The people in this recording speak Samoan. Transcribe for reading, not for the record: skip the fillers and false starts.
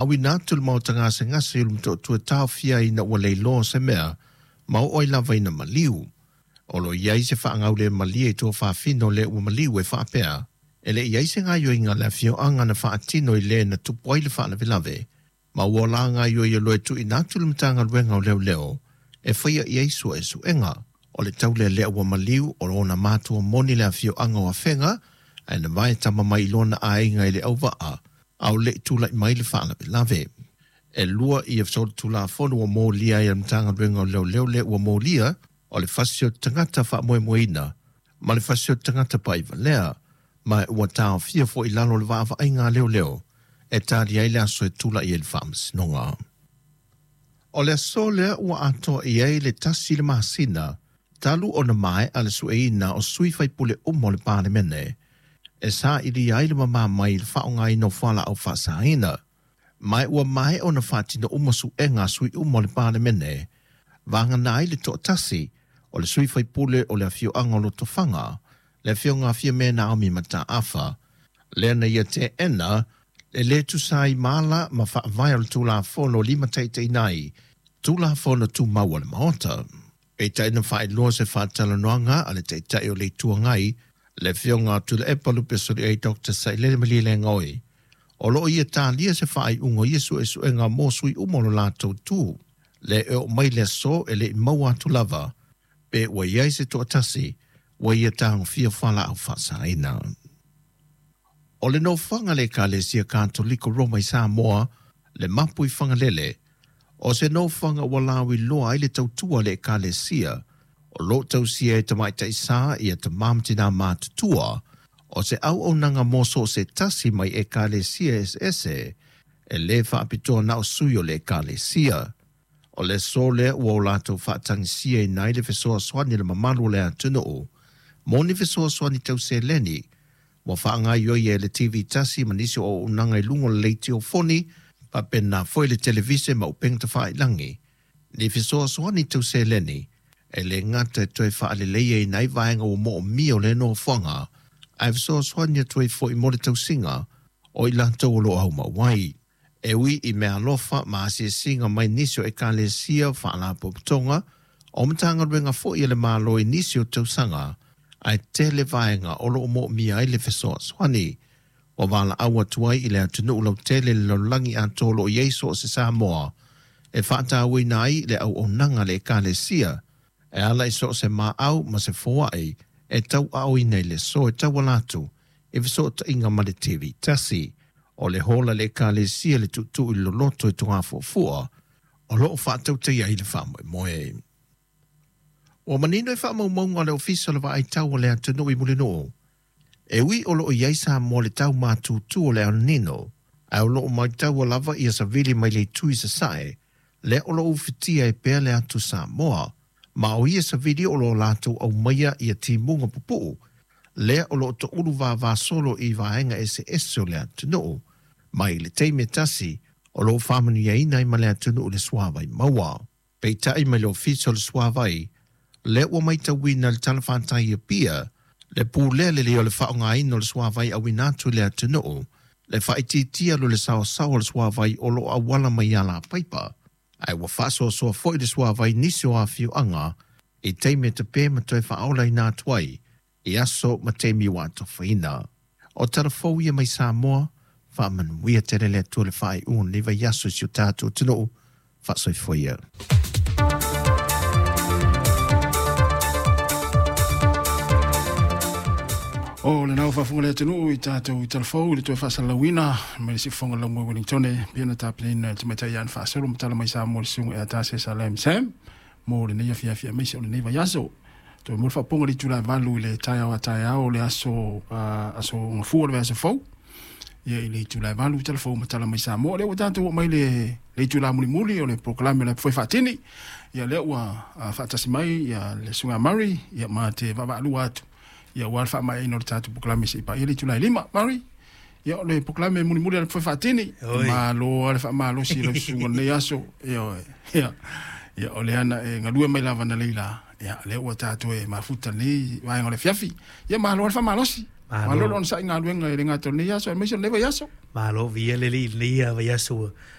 Auina atu le maota gasegase i le Motootua e taofia ai ina ua leiloa se mea ma oo ai lava ina maliu. O lo o i ai se faagaulemalie i tuafafine o le ua maliu e faapea, e le i i ai se gaoioiga a le afioaga na faatino i le na tupu ai le faalavelave, ma ua la gaoioi loa e tuuina atu i le Matagaluega o Leoleo e faia i ai suesuega. O le taulealea ua maliu o ona matua moni le afioaga o Afega, ae na vae tama mai i lona aiga i Leauvaa a o le i tulai mai le faalavelave. E lua ia solitulafono ua molia ai e le Matagaluega o Leoleo le ua molia, o le fasi o le tagata faamoemoeina ma le fasi o le tagata pa'ivalea, ma ua taofia foi i lalo o le vaavaaiga a leoleo e tali ai le aso e tula'i ai i le faamasinoga. O le aso lea ua atoa i ai le 1 le masina talu ona mae'a le sueina o sui faipule uma o le Palemene e sailia ai le mamā mai i le faaaogaina o fualaau faasaina. Ma ua maea ona faatino uma suega a sui uma o le Palemene, vagana ai le toatasi o le sui faipule o le afioaga o Lotofaga, le afioga a Fiame Naomi Mataafa, lea na ia teena le lē tusa ai ma ala ma faavae o le Tulafono limataitaiina ai Tulafono Tumau a le Maota. Peitai na faailoa se faatalanoaga a le Taitai o le Itu Agai, le afioga a Tuilaepa Lupesoliai Dr Sailele Malielegaoi, o loo ia talia se faaiuga o ia suesuega mo sui uma o lo latou tu. Le e oo mai le aso e le'i maua atu lava pe ua i ai se toatasi ua ia tagofia fualaau faasaina. O le nofoaga a le Ekalesia Katoliko Roma i Samoa, le mapu i Fagalele, o se nofoaga ua lauiloa ai le tautua a le Ekalesia, o loo tausia e tamaitai sa ia tamā ma tinā matutua, o se auaunaga mo so o se tasi mai ekalesia eseese, e lē faapitoa na o sui o le ekalesia. O le aso lea ua o latou faatagisiaina ai le fesoasoani a le mamalu o le atunuu mo ni fesoasoani tau seleni ua faagaoioi e le TV tasi ma nisi o auaunaga i luga o le leitiofoni, faapena foi le televise ma upega tafailagi, ni fesoasoani tau seleni e lē gata e toe faaleleia ai vaega ua moomia o le nofoaga, ae fesoasoani atu ai foi mo le tausiga o i latou o loo aumau ai. E ui i meaalofa ma asiasiga mai nisi o ekalesia, faalapotopotoga o Matagaluega foi a le Malo i nisi o tausaga, ae tele vaega o loo moomia ai le fesoasoani. Ua valaau atu ai i le atunuu lautele, le lalolagi atoa o loo i ai so o se Samoa, e faatauaina ai le auaunaga a le ekalesia e ala i so o se maau ma se foai e tauaaoina i le aso e tauala atu i fesootaiga ma le TV tasi. O le hola le ekalesia le Tuutuu i le Loloto i Togafuafua o loo faatautaia ai le faamoemoe. Ua manino i faamaumauga a le Ofisa o le Vaai Tau o le Atunuu i Mulinuu, e ui o loo i ai Samoa i le tau matutu o le El Nino, ae o loo maitaua lava ia savili mai le itu i sasae, lea o loo ufitia ai pea le atu Samoa, ma o ia savili o loo latou aumaia ia timuga pupuu lea o loo toulu vavasolo i vaega eseese o le atunuu. Mai le taimi e tasi o loo faamanuiaina ai ma le atunuu le suavai maua. Peitai mai le Ofisa o le Suavai, lea ua matauina le talafatai i Apia le pulea lelei o le faaaogaina o le suavai auina atu i le atunuu, le faaitiitia o le saoasaoa o le suavai o loo auala mai alapaipa, ae ua faasoasoa foi le suavai i nisi o afioaga i taimi e tape ma toe faaolaina atu ai i aso ma taimi ua atofaina. O tala fou ia mai Samoa. Faamanuia tele le Atua i le faaiuga o lenei vaiaso i si o tatou atunuu. Faasoifua ia. O lena ua faafofoga le atunuu i tatou i talafou i le toe faasalalauina mai le siufofoga o le Laumua i Wellingtone pei ona tapenaina e le tamaitai ia Faasolo ma tala mai Samoa le susuga ia Tase Salem Sam mo lenei afiafi aemaise o lenei vaiaso. Toe mo le faaopoopoga i le itula e 8 i le taeao a taeao o le aso, aso Gafua o le vaiaso fou. Ia i le itula e 8 i talafou ma tala mai Samoa. Lea ua tatou oo mai le itula mulimuli o le polokalame o le Foe Faatini. Ia lea ua faatasi mai ia le susuga a Murray ia ma te vaavaalua atu ia aua le faamaeaina o le tatou polokalame seia paia le itula e 5. Murray, ia o le polokalame mulimuli a le Foe Faatini. Malo lava le faamalosi i lau susuga o lenei aso. Ioe. Ia, ia o lea na e galue mai lava analeila, ia lea ua tatou e mafuta lenei vaega o le afiafi. Ia malo lava le faamalosi. Malo le onosai i galuega e le gata o lenei aso aemaise o lenei vaiaso. Malo, viia le Alii i lenei vaiaso ua